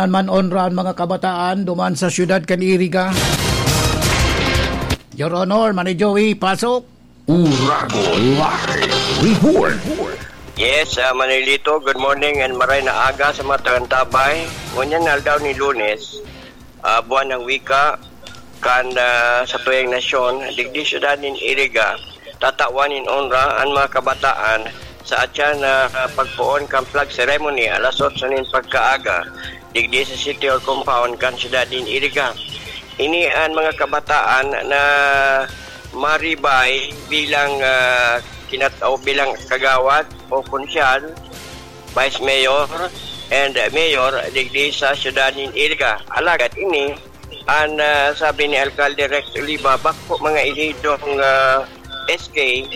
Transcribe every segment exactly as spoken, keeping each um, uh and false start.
man onra an mga kabataan duman sa siyudad kan Iriga. Your Honor, Manny Joey, pasok. Uragon Live Report. Yes, ah, Manilito, good morning and maray na aga sa mga tagantabay. Ngunyan na aldaw ni Lunes, ah, buwan ng wika, kan, ah, sa tuyang nasyon, digdi syudad nin Iriga, tatawan nin onra an mga kabataan sa atyan na, ah, pagpoon kan flag ceremony alas otso nin pagkaaga, digdi sa City Hall compound kan syudad nin Iriga. Ini an mga kabataan na maribay bilang, ah, kinat-, o bilang kagawad o konsyal, vice mayor, and mayor digdi sa syudad nin Iriga. Alagad ini, an, ah, sabi ni Alkalde Rex Oliva, bako mga ehidong, ah, S K,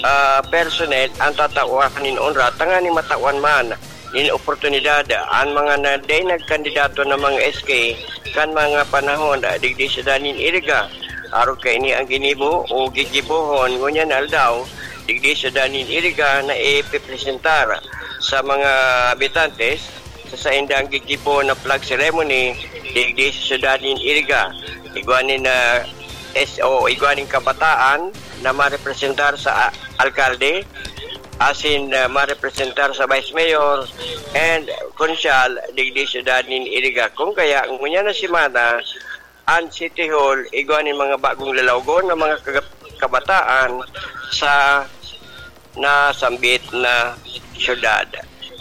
ah, personnel ang tatawan nin onra tanganing matawan man nin oportunidad an mga na, dai nagkandidato na mga S K kan mga panahon, ah, digdi sa syudad nin Iriga. Arog kaini ang ginibo o gigibohon ngunyan na aldaw, digdi sa syudad nin Iriga na ipipresentar sa mga habitantes sa saindang gigibo na flag ceremony digdi sa syudad nin Iriga. Igwa nin, ah, S O, igwa nin kabataan na marepresentar sa, ah, alkalde, asin, ah, marepresentar sa vice mayor and konsyal digdi sa syudad nin Iriga. Kung kaya, ngunyan na semana, an City Hall, igwa nin mga bagong lalawgon na mga kaga-, kabataan sa nasambit na syudad.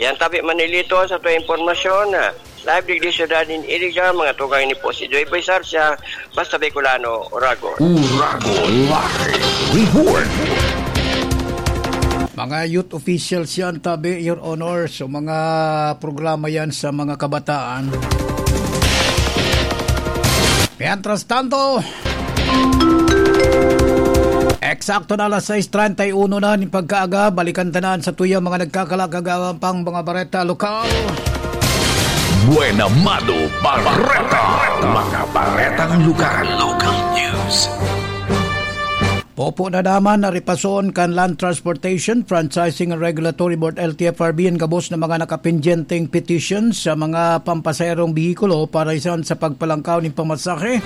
Yan tabi, Manilito, sa tuwang impormasyon. Live digdi syudad nin Iriga, mga tugang, ini po si Joy Boy Sarsia, basta Bicolano, Uragon. Uragon Live Report. Mga youth officials yan, tabi, Your Honor. So, mga programa yan sa mga kabataan. Mientras tanto, eksakto na alas sais treinta y uno na nin pagkaaga, balikan ta na an satuyang mga nagkakalakagawan pang mga bareta lokal. Buena Mano Bareta. Mga baretang lokal. Local news. Popo na naman na ripason kan Land Transportation, Franchising and Regulatory Board, L T F R B, an gabos na mga nakapendyenteng petition sa mga pampasaherong behikulo para isan sa pagpalangkaw nin pamasahe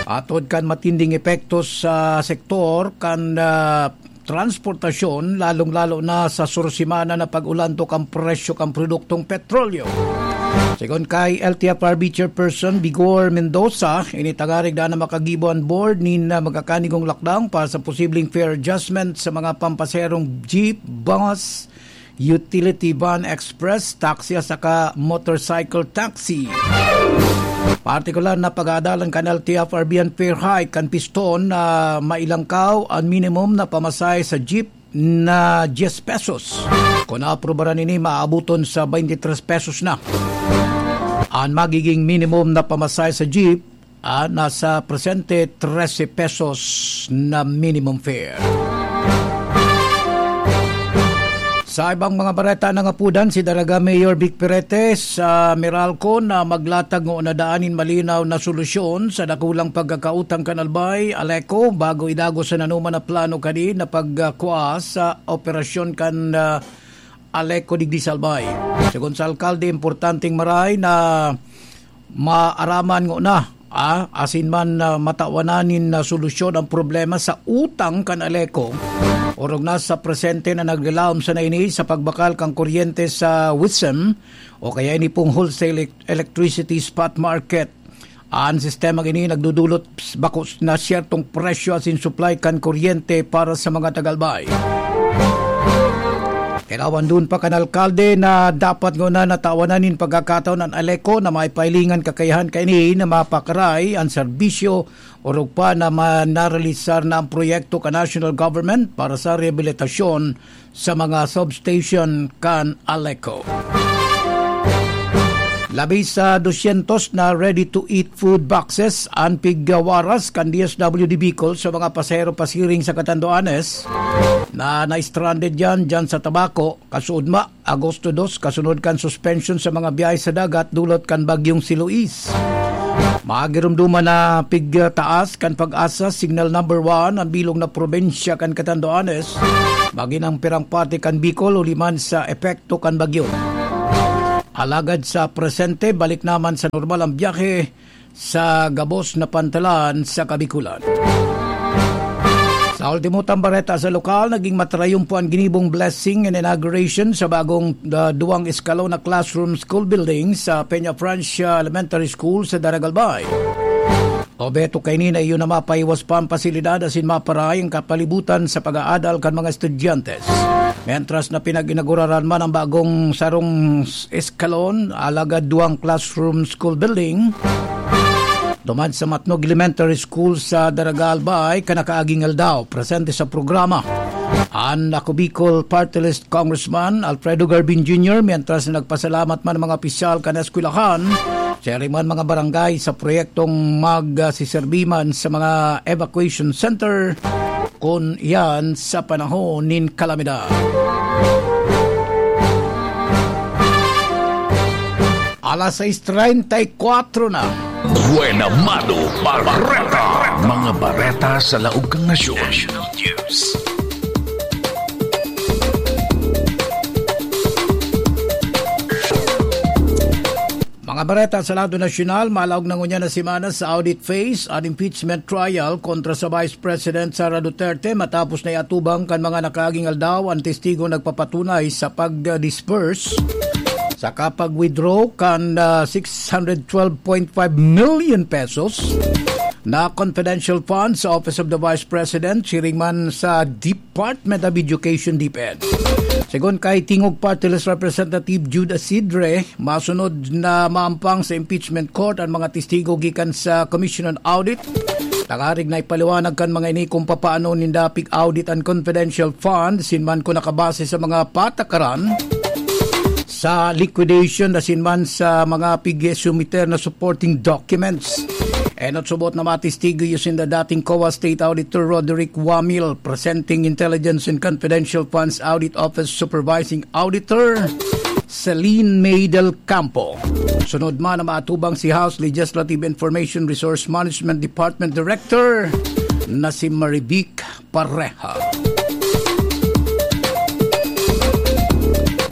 atod kan matinding epekto sa sektor kan, ah, transportasyon, lalong-lalo na sa sursimana na pag-ulantok ang presyo kan produktong petrolyo. Segun kay L T F R B Chairperson Vigor Mendoza, ini tangarig na makagibo an board nin, ah, magkakanigong lakdang para sa posibleng fare adjustment sa mga pampasaherong jeep, bus, utility van, express, taxi at saka motorcycle taxi. Partikular na pag-aadalan kan L T F R B an fare hike kan piston na mailangkaw an minimum na pamasahe sa jeep na diyes pesos. Kung naaprubaran ini, maabuton sa twenty-three pesos na. An magiging minimum na pamasahe sa jeep, ah, nasa presente trese pesos na minimum fare. Sa ibang mga bareta, nangapudan si Daraga Mayor Vic Perete sa Meralco na maglatag ngona daan nin malinaw na solusyon sa dakulang pagkakautang kan Albay, Aleco, bago idagos an anoman na plano kadi na pagkua sa operasyon kan, ah, Aleco digdi sa Albay. Segun sa alkalde, importanteng maray na maaraman ngona, ah, asin man, ah, matawanan nin, ah, solusyon ang problema sa utang kan Aleco. Orog na sa presente na naglalaom sana ini sa pagbakal kan kuryente sa WISM o kaya ini pong wholesale elec-, electricity spot market. An sistemang ini nagdudulot bako na siyertong presyo asin supply kan kuryente para sa mga taga-Albay. Kailawan duon pa kan alkalde na dapat ngona na tawanan nin pagkakataon an Aleco na maipahilingan kakayahan kaini na mapakaray an serbisyo, orog pa na ma-, narealisar na ang proyekto kan national government para sa rehabilitasyon sa mga substation kan Aleco. Labi sa dosyentos na ready-to-eat food boxes an pigwaras kan D S W D Bicol sa mga pasahero pasiring sa Catanduanes na na-stranded diyan, diyan sa Tabaco, kasuodma, Agosto dos, kasunod kan suspension sa mga biyahe sa dagat dulot kan Bagyong si Luis. Magirumduman na pigtaas kan PAGASA Signal Number One an bilog na probinsya kan Catanduanes, magin ang pirang parte kan Bicol, huli man sa epekto kan bagyo. Alagad sa presente, balik naman sa normal ang biyahe sa gabos na pantalan sa Kabikulan. Sa ultimo tang bareta sa lokal, naging matrayumpo an ginibong blessing and inauguration sa bagong, ah, duwang eskalon na classroom school building sa Peña Francia Elementary School sa Daragalbay. Obheto kaini na iyo na mapaiwas pa ang pasilidad asin maparay ang kapalibutan sa pag-aadal kan mga estudyante. Mientras na pinag-inauguraran man ang bagong sarong s-, eskalon, alagad duwang classroom school building, duman sa Matnog Elementary School sa Daragalbay, kan nakaaging aldaw, presente sa programa an Ako Bicol Party List Congressman Alfredo Garbin Junior, mientras na nagpasalamat man ang mga opisyal kan eskwelahan, siring man mga barangay sa proyektong magsiserbi man sa mga evacuation center kun iyan sa panahon nin kalamidad. Alas sais treinta y cuatro na. Buena Mano Bareta. Mga bareta sa laog kan nasyon. National News. Mga bareta sa lado nasyonal, malaog na ngunyan na semana sa audit phase an impeachment trial kontra sa Vice President Sara Duterte, matapos na iatubang kan mga nakaaging aldaw an testigo nagpapatunay sa pag-disburse saka pag-withdraw kan, ah, six hundred twelve point five million pesos na confidential funds sa Office of the Vice President, siring man sa Department of Education, DepEd. Segun kay Tingog Party List Representative Jude Asidre, masunod na maampang sa impeachment court an mga testigo gikan sa Commission on Audit, tangarig na ipaliwanag kan mga ini kung papaano ninda pig-audit an confidential fund, asin man kung nakabase sa mga patakaran sa liquidation, asin man sa mga pig-sumiter na supporting documents. Enot subot na matestigo iyo sinda dating COA State Auditor Roderick Wamil, presenting Intelligence and Confidential Funds Audit Office Supervising Auditor Celine May Del Campo. Sunod man na maatubang si House Legislative Information Resource Management Department Director na si Marivic Pareha.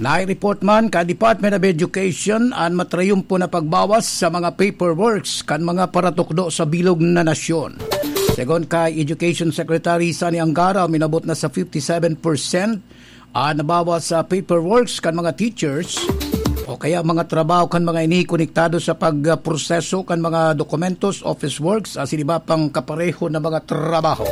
Nai-report man kan Department of Education an matrayumpo na pagbawas sa mga paperworks kan mga paratukdo sa bilog na nasyon. Segun kay Education Secretary Sonny Angara, minabot na sa fifty-seven percent an nabawas sa paperworks kan mga teachers o kaya mga trabaho kan mga ini konektado sa pagproseso kan mga dokumentos, office works, asin iba pang kapareho na mga trabaho.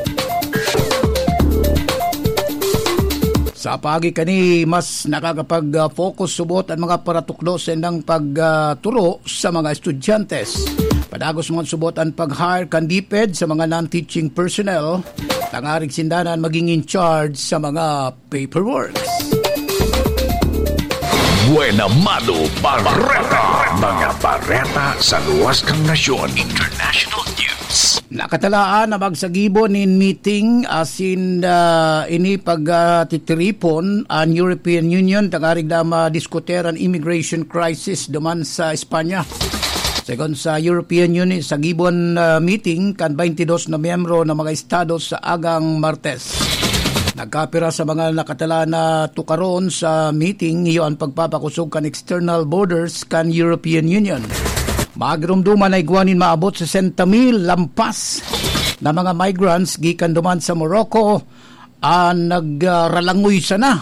Sa paagi kani, mas nakakapag-focus subot an mga paratukdo sa indang pagturo sa mga estudyante. Padagos man subot an pag-hire kan DepEd sa mga non-teaching personnel, tangarig sinda na an maging in charge sa mga paperworks. Buena Mano Bareta. Mga bareta sa luwas kan nasyon. International News. Nakatalaan na magsagibo nin meeting asin, ah, ini pag, ah, titiripon an European Union tangarig na madiskutir an immigration crisis duman sa Espanya. Segun sa European Union, sagibon, ah, meeting kan twenty-dos na miyembro na mga estado sa agang Martes. Nagkapira sa mga nakatala na tukaron sa meeting, iyo an pagpapakosog kan external borders kan European Union. Magiromdoman na igwa nin maabot sesenta mil lampas na mga migrants gikan duman sa Morocco an nagralangoy sana.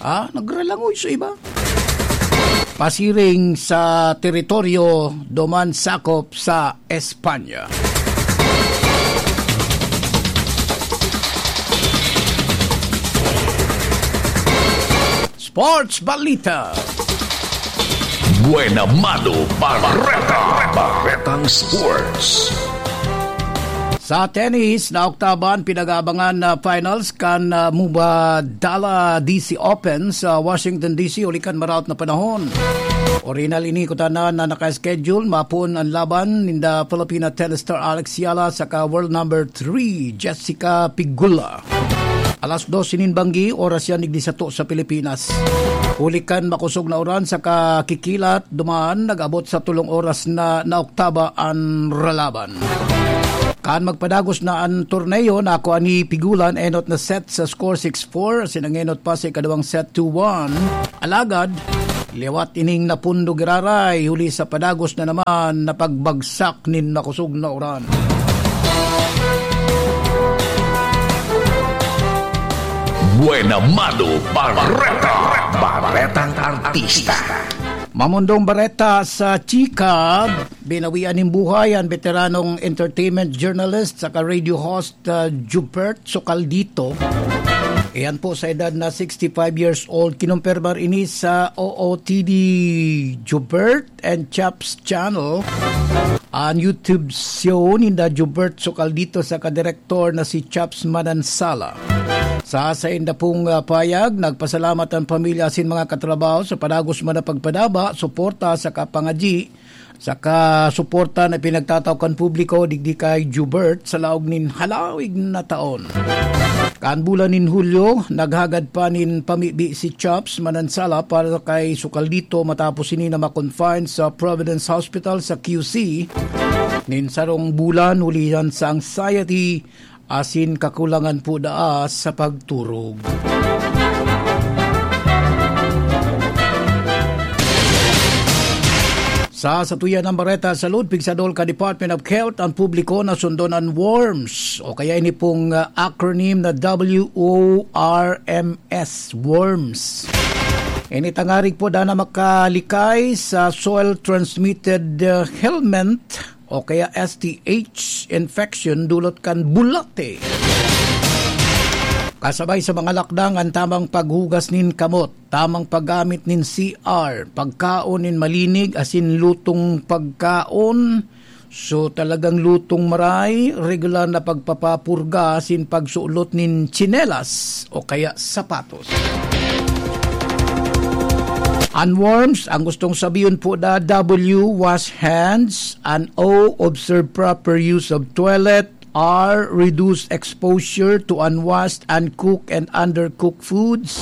Ah, nagralangoy sa iba. Pasiring sa teritoryo duman sakop sa Espanya. Sports Balita. Buena Mano Bareta. Baretang Sports. Sa tennis, naoktaban pinag-aabangan na finals kan, ah, Mubadala D C Open sa Washington D C huli kan maraot na panahon. Orinal ini kutana na naka-schedule, mapoon an laban ninda Filipina tennis star Alex Yala saka world number three Jessica Pegula. Alas dos nin banggi, oras yan, digdi sato sa Pilipinas. Huli kan makosog na uran saka kikilat, duman nag-abot sa tolong oras na naoktaba an ralaban. Kan magpadagos na an torneo, nakua ni Pegula an enot na set sa score six four, asin an enot pa sa ikaduwang set two one. Alagad, Liwat ining napundo giraray, huli sa padagos na naman na pagbagsak nin makosog na uran. Buena Mano Bareta. Baretang Artista. Mamundong bareta sa chika, binawian nin buhay ang veteranong entertainment journalist saka radio host, ah, Jubert Socaldito. Iyan po sa edad na sixty-five years old. Kinumpirmar ini sa O O T D Jubert and Chaps Channel. An YouTube show ninda Jubert Socaldito saka direktor na si Chaps Manansala. Sa sainda pong, ah, payag, nagpasalamat an pamilya asin mga katrabaho sa padagos man na pagpadaba, suporta saka pangadyi, saka suporta na pinagtatao kan publiko digdi kay Jubert sa laog nin halawig na taon. Kan bulan nin Hulyo, naghagad pa nin pamibi si Chaps Manansala para kay Socaldito matapos ini na ma-confine sa Providence Hospital sa Q C nin sarong bulan huli yan sa anxiety asin kakulangan po daa sa pagturog. Sa satuyan ng bareta sa Lud, pigsadol kan Department of Health ang publiko na sundon an worms, o kaya ini pong, ah, acronym na W O R M S, worms. Ini tangarig po dana makalikay sa soil transmitted, ah, helminth o kaya S T H infection dulot kan bulate. Kasabay sa mga lakdang an tamang paghugas nin kamot, tamang paggamit nin C R, pagkaon nin malinig asin lutong pagkaon. So, talagang lutong maray, regular na pagpapapurga asin pagsulot nin tsinelas o kaya sapatos. An worms, ang gustong sabihon po na W, wash hands, an O, observe proper use of toilet, R, reduce exposure to unwashed, uncooked, and undercooked foods,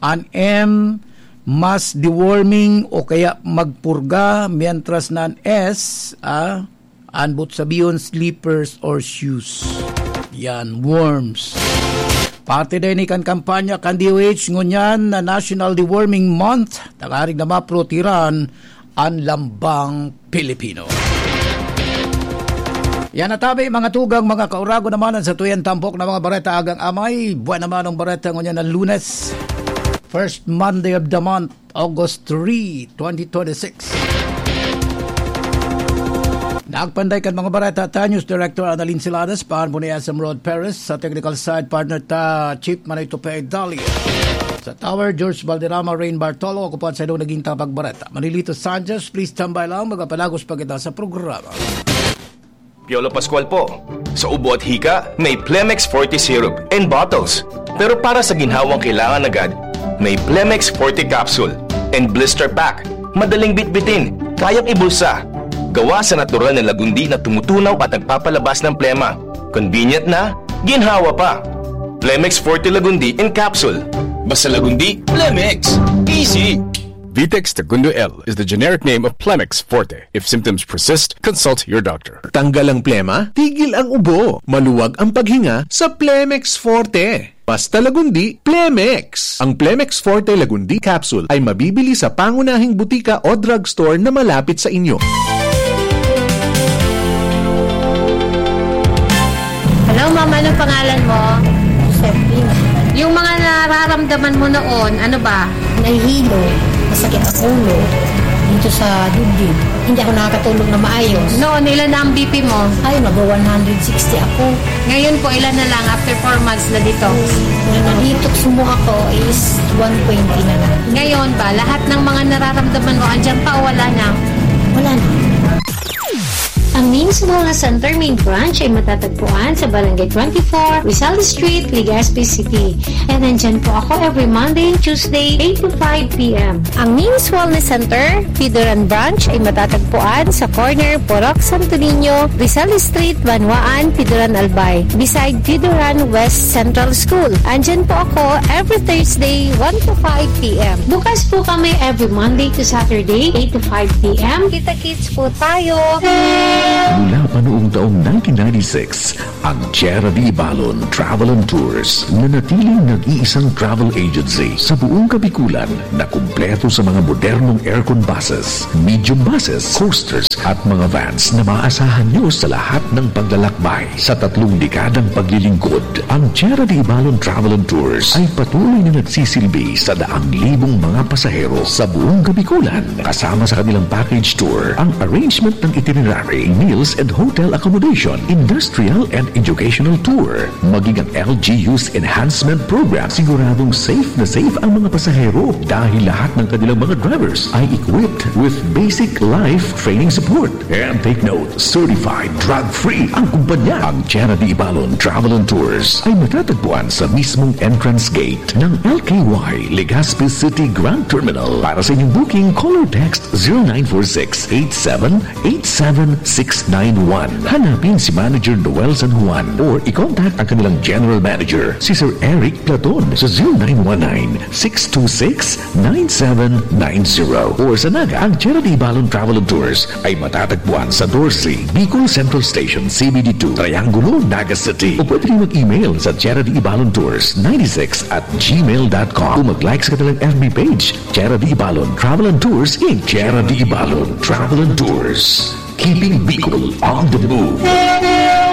an M, mass deworming o kaya magpurga, mientras na an S, ah, an boot sabihon, slippers or shoes. Yan, worms. Parte din kan kampanya kan D O H ngunyan na National Deworming Month, tangarig na maprotehiran an lambang Pilipino. Yan na tabi, mga tugang, mga kaurago naman, an satuyan tampok na mga bareta agang amay. Buwan naman ang bareta ngunyan na Lunes, first Monday of the month, August three, twenty twenty-six. Nagpanday kan mga bareta ta News Director Annalyn Silanes, paan po ni S M Rod Perez, sa technical side partner ta Chief Manay Tupe Dalia. Sa Tower, George Valderrama, Rain Bartolo, ako po ang sa naging tapag bareta, Manilito Sanchez. Please tambay lang, magpapalagos pa kita sa programa. Piolo Pascual po. Sa ubo at hika, may Plemex Forte Syrup and bottles. Pero para sa ginhawang kailangan agad, may Plemex Forte Capsule and Blister Pack. Madaling bitbitin, kayang ibulsa. Gawa sa natural na lagundi na tumutunaw at nagpapalabas ng plema. Convenient na, ginhawa pa. Plemex Forte Lagundi in Capsule. Basta Lagundi, Plemex. Easy! Vitex Tagundo L is the generic name of Plemex Forte. If symptoms persist, consult your doctor. Tanggal ang plema, tigil ang ubo, maluwag ang paghinga sa Plemex Forte. Basta Lagundi, Plemex! Ang Plemex Forte Lagundi Capsule ay mabibili sa pangunahing butika o drugstore na malapit sa inyo. Hello, ma'am. Anong pangalan mo? Josephine. Yung mga nararamdaman mo noon, ano ba? Nahihilo. Masakit ang ulo. Dito sa dibdib. Hindi ako nakakatulog na maayos. Noon, ilan na ang B P mo? Ay, mag-one hundred sixty ako. Ngayon po, ilan na lang after four months na dito? Nung na-detox mo ako is one twenty na lang. Ngayon ba, lahat ng mga nararamdaman mo, andyan pa o wala na? Wala na. Ang Means Wellness Center main branch ay matatagpuan sa Barangay twenty-four, Rizal Street, Legazpi City. And nandyan po ako every Monday and Tuesday, eight to five p m. Ang Means Wellness Center, Pidoran Branch, ay matatagpuan sa corner Purok Santo Niño, Rizal Street, Banwaan, Pidoran Albay, beside Pidoran West Central School. Andyan po ako every Thursday, one to five p m. Bukas po kami every Monday to Saturday, eight to five p m. Kita-kits po tayo! Mula pa noong taong nineteen ninety-six, Ang Tierra de Ibalon Travel and Tours, nanatiling nag-iisang travel agency sa buong Kabikulan na kumpleto sa mga modernong aircon buses, medium buses, coasters at mga vans na maaasahan nyo sa lahat ng paglalakbay. Sa tatlong dekadang paglilingkod, ang Tierra de Ibalon Travel and Tours ay patuloy na nagsisilbi sa daang libong mga pasahero sa buong Kabikulan. Kasama sa kanilang package tour ang arrangement ng itinerary, meals and hotel accommodation, industrial and educational tour, maging ang L G U's enhancement program. Siguradong safe na safe ang mga pasahero dahil lahat ng kanilang mga drivers ay equipped with basic life training support. And take note, certified drug-free ang kumpanya. Ang Tierra de Ibalon Travel and Tours ay matatagpuan sa mismong entrance gate ng L K Y Legazpi City Grand Terminal. Para sa inyong booking, call or text zero nine four six eight seven eight seven six nine one. Hanapin si Manager Noel San Juan or i-contact ang kanilang General Manager, si Sir Eric Platon, sa zero nine one nine six two six nine seven nine zero. Or sa Naga, ang Tierra de Ibalon Travel and Tours ay matatagpuan sa Dorsey, Bicol Central Station, C B D two, Triangulo, Naga City. O pwede rin mag-email sa Tierra de Ibalon Tours ninety six at gmail dot com. O mag-like sa kanilang F B page, Tierra de Ibalon Travel and Tours, Inc. Tierra de Ibalon Travel and Tours. Keeping Bicol on the move.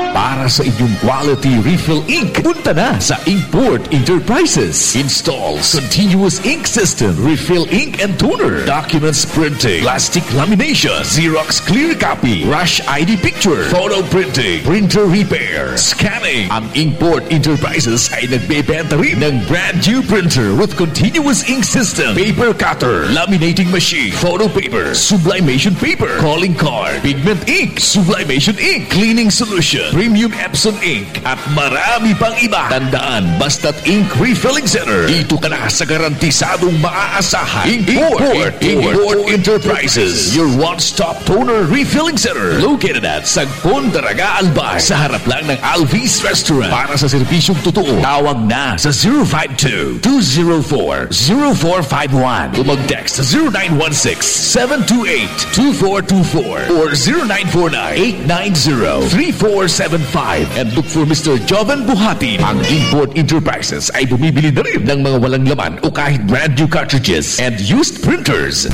Para sa inyong quality refill ink, punta na sa Inkport Enterprises. Installs continuous ink system, refill ink and toner, documents printing, plastic lamination, Xerox clear copy, rush I D picture, photo printing, printer repair, scanning. Ang Inkport Enterprises ay nagbebenta rin ng brand new printer with continuous ink system, paper cutter, laminating machine, photo paper, sublimation paper, calling card, pigment ink, sublimation ink, cleaning solution, premium Epson ink, at marami pang iba. Tandaan, basta't ink refilling center, dito ka na sa garantisadong maaasahan. Import, Import, Import Enterprises, your one-stop toner refilling center. Located at Sagpon, Daraga, Albay, sa harap lang ng Alvis Restaurant. Para sa serbisyong totoo, tawag na sa zero five two, two zero four, zero four five one. O mag-text sa zero nine one six, seven two eight, two four two four or zero nine four nine, eight nine zero, three four seven five. And look for Mister Joven Buhatin. Ang Import Enterprises ay bumibili na rin ng mga walang laman o kahit brand new cartridges and used printers.